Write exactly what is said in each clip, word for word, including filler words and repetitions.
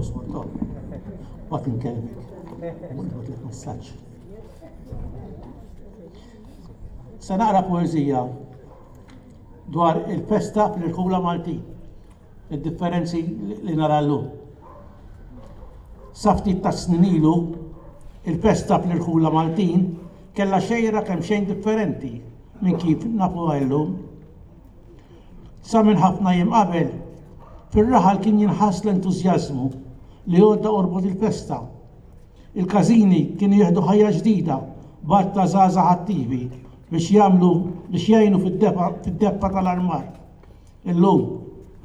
Fil-qosor, to. Bat inkellmek. Nibgħatlek messaġġ. Se naqra poeżija dwar il-festa fl-irħula Maltin, id-differenzi li nara llum. Sa ftit ta' snin ilu, il-festa fl-irħula Maltin kellha xejra kemm xejn differenti minn kif nafuha llum. Sa minn ħafna jiem qabel, fir-raħal kien jinħass l-entużjażmu li għodda qorbot il-festa. Il-każini kienu jieħdu ħajja ġdida b'għadd ta' żgħażagħ attivi biex jagħmlu biex jgħinu fid-deffa tal-armar. Illum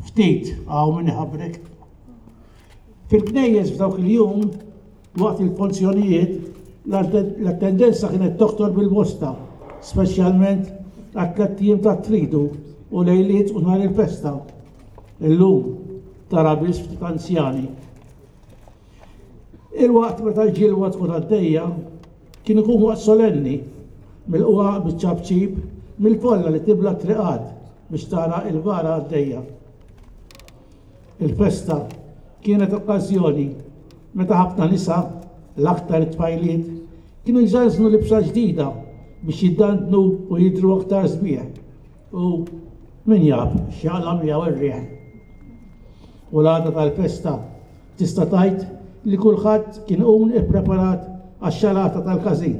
ftit hawn min iħabrek. Fil-knejjes f'dawk il-jum, waqt il-funzjonijiet, l-attendenza kienet toktor bil-bosta, speċjalment għat-tlett ijiem tat-tridu u lejliet u nhar il-festa. Illum tara biss ftit anzjani. Il-waqt meta l-ġilwa tkun għaddejja kien ikun waqt solenni, milqugħa biċ-ċapċip mill-folla li tibla t-triqat biex tara l-vara għaddejja. Il-festa kienet okkażjoni meta ħafna nisa, l-aktar it-tfajliet, kienu jżanżnu libsa ġdida biex jiddandnu u jidhru aktar sbieħ. U min jaf x'jaqla' miegħu r-riħ. U l-għada tal-festa tista' tgħid li kulħadd kien iqum ippreparat għax-xalata tal-każin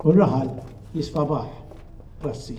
u r-raħal jisfa' baħħ. Grazzi.